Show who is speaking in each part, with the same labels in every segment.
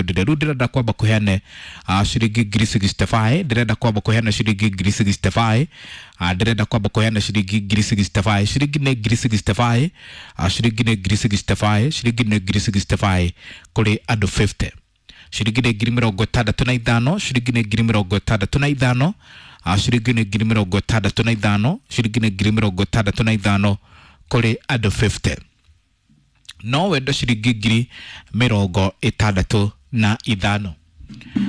Speaker 1: Ndire rĩu ndĩrenda kwamba kũheane ciringi ngiri 65, ndĩrenda kwamba kũheana ciringi ngiri 65, ndĩrenda kwamba kũheana ciringi ngiri 65. Ciringi nĩ ngiri 65, ciringi nĩ ngiri 65, ciringi nĩ ngiri 65 kũrĩ andũ 50. Ciringi nĩ ngiri mĩrongo ĩtandatũ na ithano, ciringi nĩ ngiri mĩrongo ĩtandatũ na ithano, ciringi nĩ ngiri mĩrongo ĩtandatũ na ithano, ciringi nĩ ngiri mĩrongo ĩtandatũ na ithano kũrĩ andũ 50. No wende ciringi ngiri mĩrongo ĩtandatũ na ithano.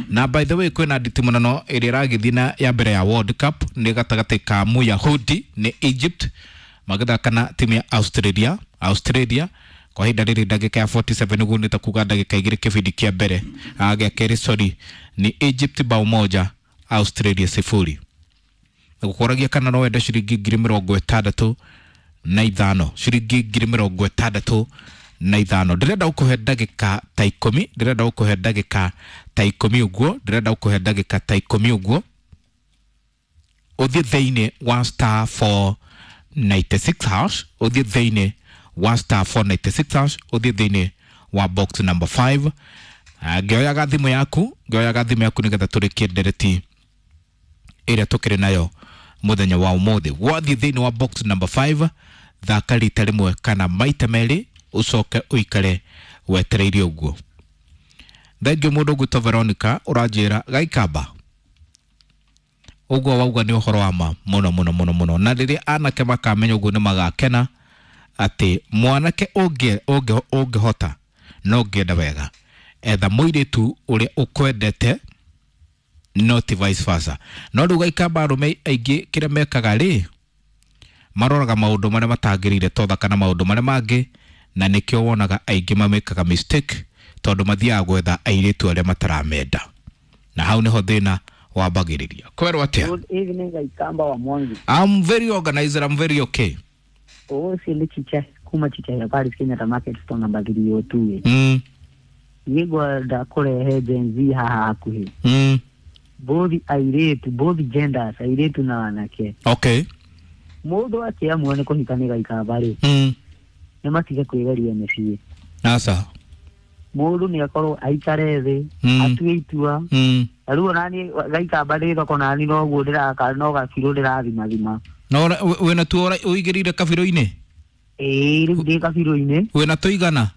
Speaker 1: Na by the way, kwĩna nditimũrano ĩrĩa ĩragĩthiĩ na ya mbere ya World Cup, nĩ gatagatĩ ka Muyahudi nĩ Egypt magĩthaka na timu ya Australia. Australia kwa ihinda rĩrĩ ndagĩka ya 47, nĩguo nĩ ta kuga ndagĩka 2 kĩbindi kĩa mbere, gĩa kerĩ sorry, ni Egypt bao 1, Australia 0. Gũkũragia kana no wende ciringi ngiri mĩrongo ĩtandatũ na ithano, ciringi ngiri mĩrongo ĩtandatũ na ithano. Ndĩrenda gũkũhe ndagĩka ta 10, ndĩrenda gũkũhe ndagĩka ta 10 ũguo, ndĩrenda gũkũhe ndagĩka ta 10 ũguo, ũthiĩ thĩinĩ wa star 496 hash, ũthiĩ thĩinĩ wa star 496 hash, ũthiĩ thĩinĩ wa box number 5. Ngĩoyaga thimũ yaku, ngĩoyaga thimũ yaku nĩgetha tũrĩkie ndereti ĩrĩa tũkĩrĩ nayo mũthenya wa ũmũthĩ. Wathiĩ thĩinĩ wa box number 5, thaka rita rĩmwe kana maita merĩ, ũcoke ũikare wetereire ũguo. Thengiũ mũndũ ũgwĩtwo Veronica ũranjĩra gaikamba ũguo wauga nĩ ũhoro wa ma mũno mũno mũno mũno, na rĩrĩa anake makamenya ũguo nĩ magakena atĩ mwanake ũngĩhota no ũngĩenda wega etha mũirĩtu ũrĩa ũkwendete, no ti vice versa. No rĩu gaikamba arũme aingĩ kĩrĩa mekaga rĩ, maroraga maũndũ marĩa matagĩrĩire to thaka na maũndũ marĩa mangĩ, na nĩkĩo wonaga aingĩ mamĩkaga mistake, tondũ mathiaga gwetha airĩtu arĩa mataramenda, na hau nĩho thĩna wambagĩrĩria. Kwerwo atĩa?
Speaker 2: Good evening, Gaikamba wa Mwangi.
Speaker 1: I'm very organized, I'm very okay.
Speaker 2: Ũcio nĩ Chicha kuma Chicha ya Paris Kenyatta Market store number 302. Niĩ ngwenda kũrehe Gen Z haha hakuhĩ. Both airĩtu, both genders, airĩtu na anake.
Speaker 1: Okay.
Speaker 2: Mũndũ akĩamua nĩ kũhika nĩ Gaikamba rĩ, nĩ matige kwĩgeria mĩciĩ.
Speaker 1: Asa.
Speaker 2: Mũndũ nĩ akorwo aikare thĩ, atue itua. Na rĩu onaniĩ Gaikamba ndĩ thoko nani noguo ndĩraka no gabirũ ndĩrathimathima.
Speaker 1: Na wĩna tuo ũigĩrĩire kabirũ-inĩ?
Speaker 2: Ĩĩ, rĩu ndĩ kabirũ-inĩ.
Speaker 1: Wĩna tũigana?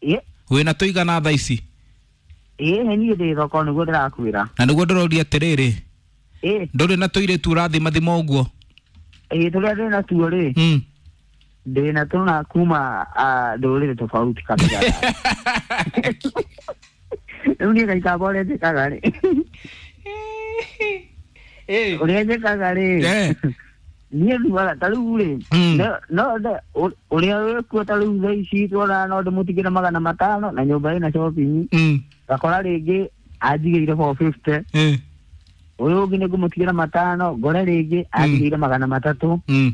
Speaker 2: Ĩ.
Speaker 1: Wĩna tũigana thaa ici?
Speaker 2: Ĩĩ, he niĩ ndĩ thoko nĩguo ndĩrakwĩra.
Speaker 1: Na nĩguo ndĩroria atĩrĩrĩ,
Speaker 2: Ĩ.
Speaker 1: ndũrĩ na tũirĩtu ũrathimathima ũguo?
Speaker 2: Ĩĩ, tũrĩa ndĩ natuo rĩ, ndĩ na tũna kuma ndũrĩrĩ tofauti kabisa. Rĩu niĩ Gaikamba ũrĩa njĩkaga rĩ, ũrĩa njĩkaga rĩ, niĩ thuaga ta rĩu rĩ, no ũrĩa wĩkuo ta rĩu thaa ici tuona no ndĩmũtigĩre 500 na nyũmba ĩna shopping, ngakora rĩngĩ anjigĩire 450, ũyũ ũngĩ nĩ ngũmũtigĩra 500, ngore rĩngĩ anjigĩire 300.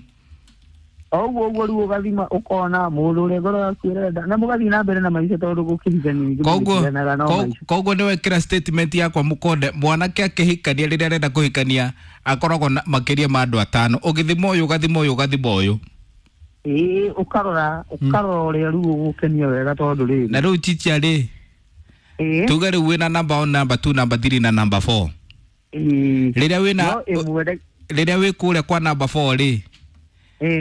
Speaker 2: Oguo ũguo rĩu ũgathima ũkona mũndũ ũrĩa ngoro yaku ĩrenda na mũgathiĩ na mbere na maica, tondũ gũkĩhikania ningĩ mũgĩtiganaga no maica.
Speaker 1: Koguo nĩ wekĩra statement yakwa mũkonde, mwanake akĩhikania rĩrĩa arenda kũhikania akoragwo na makĩria ma andũ 5, ũgĩthima ũyũ ũgathima ũyũ ũgathima ũyũ.
Speaker 2: Ĩĩ, ũkarora ũkarora ũrĩa rĩu ũgũkenia wega tondũ rĩrĩ.
Speaker 1: Na rĩu Chicha rĩ, tuge rĩu wĩna number 1, number 2, number 3 na number 4. Rĩrĩa wĩna rĩrĩa wĩ kũrĩa kwa number 4 rĩ,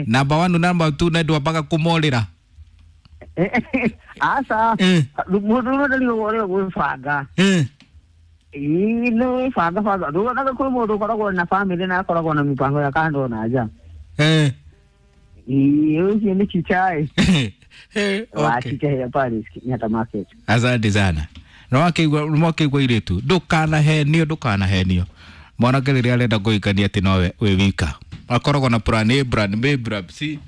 Speaker 1: number 1 number 2 na ndwambaga kũmorĩra.
Speaker 2: Aca, mũndũ ũrĩa nĩ ũrĩa gwĩbanga. Ĩĩ, nĩ gwĩbanga banga. Ndũonaga kwĩ mũndũ ũkoragwo na famĩlĩ na akoragwo na mĩbango ya kando na nja. Ĩĩ, ũcio nĩ Chicha ĩ. Wa Chicha ya Paris Kenyatta Market.
Speaker 1: Asante sana. Nĩwakĩigua irĩtu, ndũkanahenio, ndũkanahenio. Mwanake rĩrĩa arenda kũhikania atĩ nowe wĩ wika, akoragwo na plan A, plan B, plan C,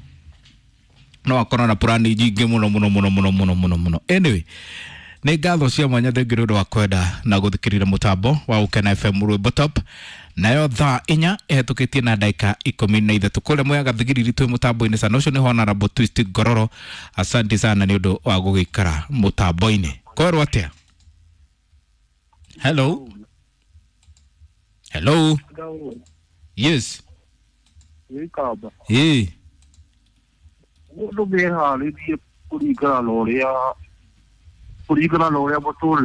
Speaker 1: no akorwo na plan nyingĩ mũno mũno mũno mũno mũno mũno mũno. Anyway, nĩ ngatho cia mwanya, thengiũ nĩ ũndũ wa kwenda na gũthikĩrĩria mũtambo wa Gũkena FM Rwĩmbo Top. Nayo thaa 4 ĩhetũkĩtie na ndagĩka 13 kũrĩa Mwea Gathigiriri twĩ mũtambo-inĩ sana. Ũcio nĩ Honorable Twist Ngororo, asante sana nĩ ũndũ wa gũgĩikara mũtambo-inĩ. Kwerwo atĩa? Hello. Hello. Yes.
Speaker 3: Gĩkamba.
Speaker 1: Ĩĩ.
Speaker 3: Mũndũ nĩeharĩrie kũringana na ũrĩa mũtũrĩre.